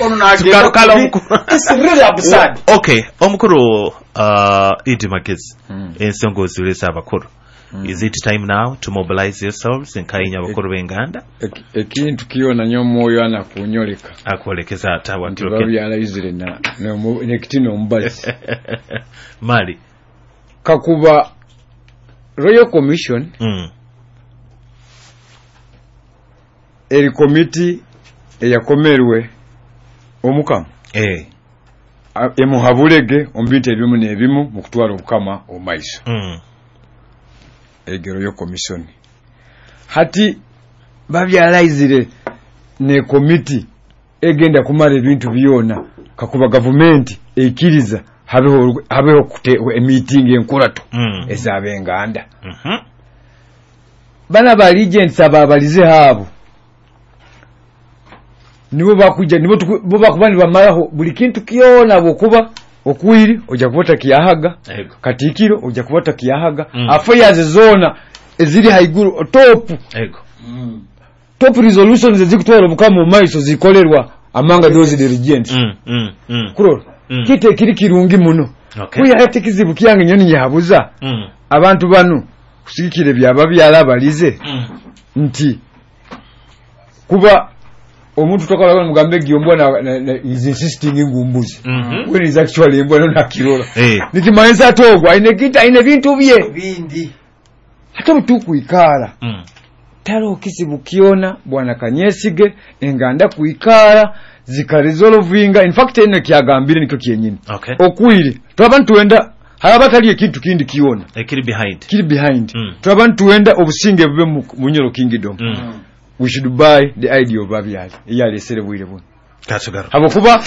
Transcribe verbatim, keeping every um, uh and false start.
Ono nagenda Tugarukala kubi. omukulu. It's really absurd. Okay, omukulu uh, Idi Magezi, ensonga ozireza abakulu. Is it time now to mobilize yourselves nkainya abakulu b'enganda? Eki- ekintu kyona nyo omwoyo anakunyoleka Akwolekeza ata nti watuloke babyalaizire na- nomu- nekiti n'omubazi. Mali. Kakuba Royal Commission mm. eri komiti eyakomerwe omukama eh. A- emuhabulege omu bintu ebimu n'ebimu mu kutwara obukama omu maiso. mm. Ege Royal Commission hati babyalaizire ne komiti egenda kumara ebintu byona kakuba gavumenti eikiriza habeho habeho kute- emiitingi enkurato Mm. ez'abenganda. Mhm. Bana ba regents ababalize haabo nibo bakuja nibo tuku- bo bakuba nibamaraho buli kintu kyona, bwokuba okwiri ojja kuba otakiyahaga. Ego. Katikiro ojja kuba otakiyahaga. Mm. Affairs zona eziri haiguru, top Ego. top resolutions ezikutwara obukama omu maiso zikolerwa among those the regents. Mm, mm, mm. Kurora Mm. kitu ekiri kirungi muno. Okay. Kuya hati kizibu kyange nyo ninyehabuza Mm. abantu bano kusigikira byaba byalabalize Mm. nti kuba omuntu tokola mugambe gyombwa na, na, na is insisting ngumbuzi Mhm. when is actually embwa no nakirora. Eh. Nikimanisa togwa aine kita aine bintu bye bindi. Ate obutukwikara Mm. talo kizibu kyona bwana Kanyesige enganda kuikara zikaresolvinga. In fact, eno kyagambire nikyo kyenyini. Okay. Okwiri twaba ntuwenda haraba tali ekintu kindi kyona ekiri behind. Kiri behind. Mm. Twaba ntuwenda obusinge bube mu Munyoro Kingdom, Mm. we should buy the idea of babyali eyalesere bwire buno. Katugaruka. Habwokuba